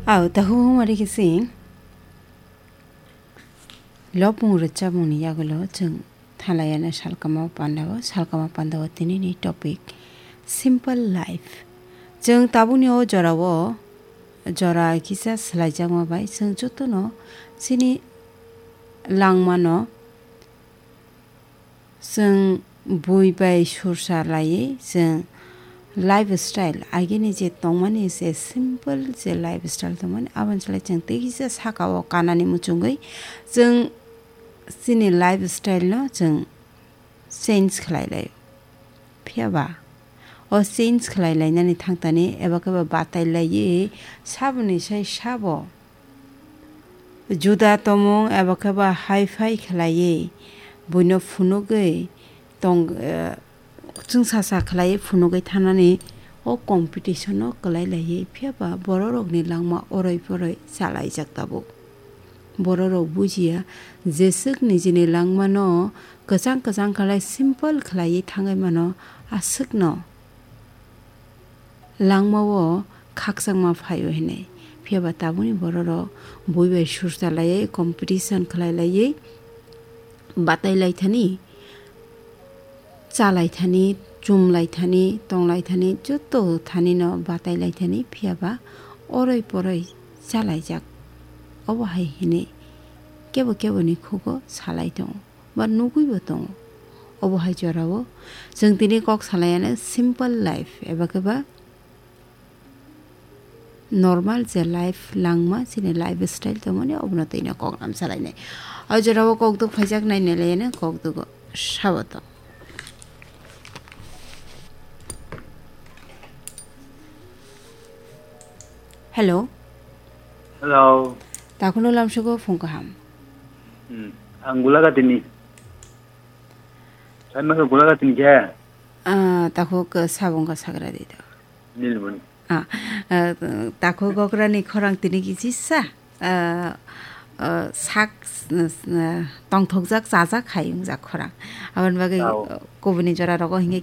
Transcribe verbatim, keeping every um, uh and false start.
Au, tahu mari kisi. Lopung rwchapmungni yagulo chwng thalayana salkama pandao, salkama pandao tinini topic simple life. Chwng tabukni o jorao, jora kisa swlaijakma bai chwng jotono chini langmano chwng bui bai sursa laiwi chwng lifestyle, agini je tongmani je simple je lifestyle tongmani, aboni slai chwng tei kisa sakao kanani muchungwi chwng chini lifestyle no chwng change khlai laio. Phiya ba o change khlai lainani thangtani eba khe ba batai laiwi saboni sai sabo juda tongmung eba khe ba hi-fi khlaiwi buino phunugwi tong, eh, chwngsacha khlaiwi phunugwi thanani o competition-o kwlai laiwi, phiya ba bororokni langma oroi poroi chalaijak tabuk. Bororok bujiya, jeswk nijini langmano kwchang kwchang khlai simple khlaiwi thangwi mano, aswkno langmao khakchangma phaio hinwi. Phiya ba tabukni bororok bui bai sursa laiwi, competition khlai laiwi, batai lai thani, cha lai thani, chum lai thani, tong lai thani, joto thanino batai lai thani, phiya ba oroi poroi chalaijak. Obo hai hinwi kebo keboni khugo salai tongo. Ba nugwibo tongo. Obo hai jorao chwng tini kok salaiano simple life eba khe ba normal je life langma chini lifestyle tongmani obono twino kok lam salainai. O jorao kok duk phaijak nai nai laiano kok dugo saboto. Hello. Hello. Takhwno lamsugo phung kaham. Hmm. Ang Gulagatini. Saima khe Gulagatini khe? Ah, takhuk, eh, sabung ka sagra di do. Nilmani. Ah, eh, takhuk okrani khorang tini kisi sa? Ah, ah, sak, eh, tongthokjak, chajak hai wngjak khorang. Aboni bagwi, Tao. Eh, kubuni jora rogo hinge